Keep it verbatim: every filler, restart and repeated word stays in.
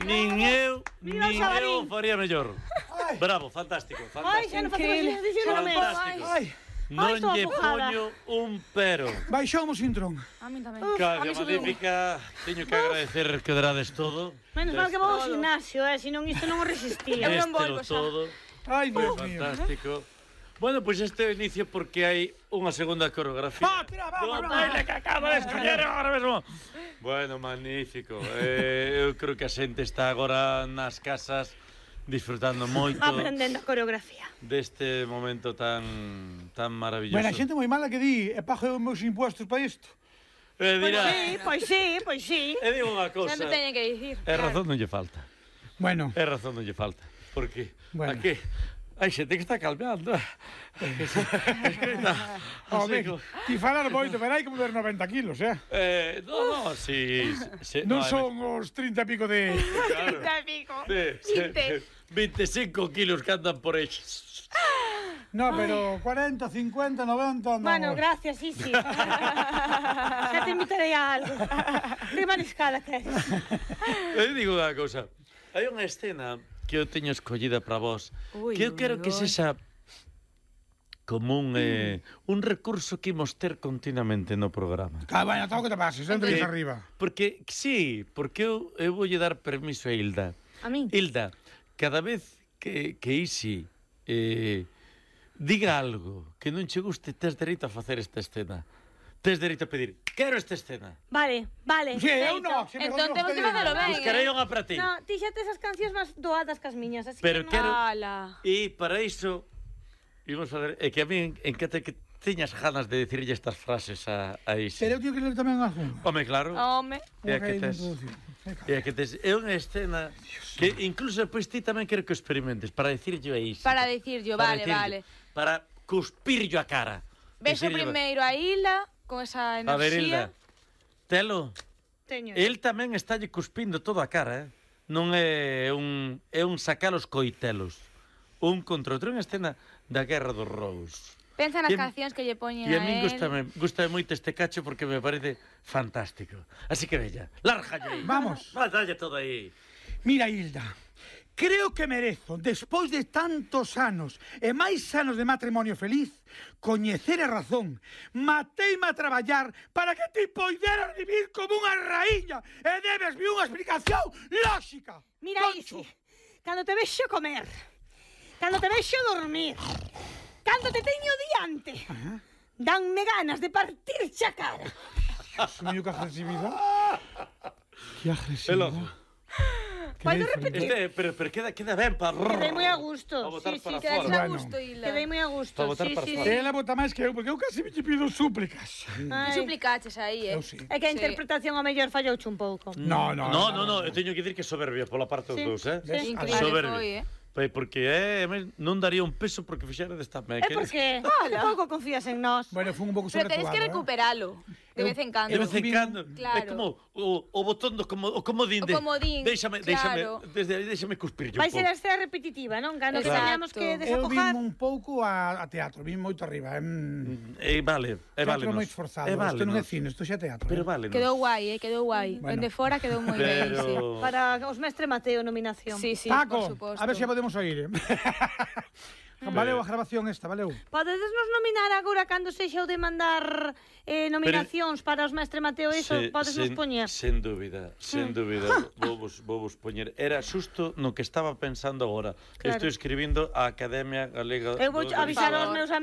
nin eu, Viva nin Xabarín. eu faría mellor. Bravo, fantástico, Ai, xa fantástico. non facemos exercicio no mes. Fantástico. Ai, Non estou lle afogada. poño un pero. baixamos Intrón. A mí tamén. Caga magnífica, teño que agradecer que drades todo. Menos mal que vou ao gimnasio, eh, senón isto non o resistía. Eu non Este volvo lo xa. todo. Ai, Dios mío. Fantástico. Bueno, pois pues este é o inicio porque hai unha segunda coreografía. Ah, tira, va, do va, va. baile que acaba de escoller agora mesmo. Bueno, magnífico. Eh, eu creo que a xente está agora nas casas disfrutando moito Aprendendo a coreografía. deste momento tan tan maravilloso. Bueno, a xente moi mala que di, e pago os meus impuestos para isto. Eh, dirá, Sí, pois sí, pois sí. e digo unha cousa. Sempre teñen que dicir. É razón non lle falta. Bueno, É razón non lle falta. Porque Bueno. aquí hai xente que está calmeando. home, ti falar moito, pero hai que mover noventa kilos, eh? Eh, no, no, si... si Non no, son os trinta e pico de... Claro. Te pico. Sí, sí, Vinte. veinticinco kilos que andan por aí. No, pero cuarenta, cincuenta, noventa... No. Bueno, gracias, Isi. Xa te invitarei a algo. Que mariscada que eres. Eu digo unha cousa. Hai unha escena que eu teño escollida para vos, Ui, que eu ui, quero que ui. sexa como un, eh, un recurso que imos ter continuamente no programa. Ah, bueno, todo que te pases, entre Eh, arriba. Porque, sí, porque eu, eu voulle dar permiso a Hilda. A min. Hilda, cada vez que, que Isi eh, diga algo que non che guste, tes dereito a facer esta escena. Tes dereito a pedir, quero esta escena. Vale, vale. Sí, eu feito. no, se me Entón temos que facelo ben, Buscarei eh? unha para ti. No, ti xa tes as cancións máis doadas que as miñas, así Pero que... quero... Ala. E para iso, imos fazer... É que a mí encanta que teñas ganas de decirlle estas frases a, a Isi. Pero eu teño que ler tamén algún. Home, claro. Home. É a que tes... É a que tes... É unha escena que incluso depois ti tamén quero que o experimentes para decirlle a Isi. Para dicirllo, Para vale, decirlle, vale. Para cuspirllo a cara. Vexo Decirlle- primeiro a Hilda con esa A ver, enerxía. Hilda, telo. Teño. El tamén estálle cuspindo toda a cara, eh? Non é un é un sacar os coitelos. Un contra outro, unha escena da Guerra dos Rous. Pensa nas E a- cancións que lle poñen E a a min él. gustame, gustame moito este cacho porque me parece fantástico. Así que bella, lárgalle aí. Vamos. Va, dalle todo aí. Mira, Hilda, creo que merezo, despois de tantos anos e máis anos de matrimonio feliz, coñecer a razón. Mateime a traballar para que ti poideras vivir como unha raíña e debesme unha explicación lógica. Mira, Concho. Isi, cando te vexo comer, cando te vexo dormir, cando te teño diante, danme ganas de partirche a cara. Dios mío, que agresividad. Que agresividad. Elojo. Que Podo diferente. repetir? Este, pero, pero queda, queda ben para... Quedei moi a gusto. Para botar Sí, sí, para quedei fora. Quedas a Bueno. gusto, Hilda. Quedei moi a gusto. Para botar Sí, para sí, fora. sí. Ela bota máis que eu, porque eu casi me che pido súplicas. Que Ai. suplicaches aí, eh? Eu sí. É que a Sí. interpretación ao mellor fallouche un pouco. No, no, No, no, no, eu teño que dicir que soberbia pola parte dos Sí. dous, eh? Sí. Increíble Soberbio. foi, eh? Pois porque é, eh, non daría un peso porque fixera desta me. É porque que pouco confías en nós. Bueno, fue un pouco Pero tenes sobreactuado, que eh. recuperalo de vez en cando. De vez en cando, Claro. é como o, o botón do como, o comodín de... O comodín, Déixame, claro. déixame, desde aí déixame cuspir yo Vai un ser pouco. a escena repetitiva, non? Cando que Exacto. teñamos que Eu desafogar. vim un pouco a, a teatro, vim moito arriba. Mm. E vale, e vale. Teatro moi esforzado, E vale. isto non é cine, isto xa é teatro. Pero eh. vale. Quedou guai, eh? Quedou guai. Bueno. Dende fora quedou moi ben, sí. Pero... Para os mestre Mateo nominación. Sí, sí, Paco, por suposto. a ver se podemos oír. Valeu a grabación esta, valeu. Podedes nos nominar agora cando sexa o de mandar eh, nominacións para os mestre Mateo, iso Se- podes nos sen- poñer. Sen dúbida, sen dúbida, vou vos, vou vos poñer. Era xusto no que estaba pensando agora. Claro. Estou escribindo a Academia Galega... Eu vou do- avisar Por aos favor. meus amigos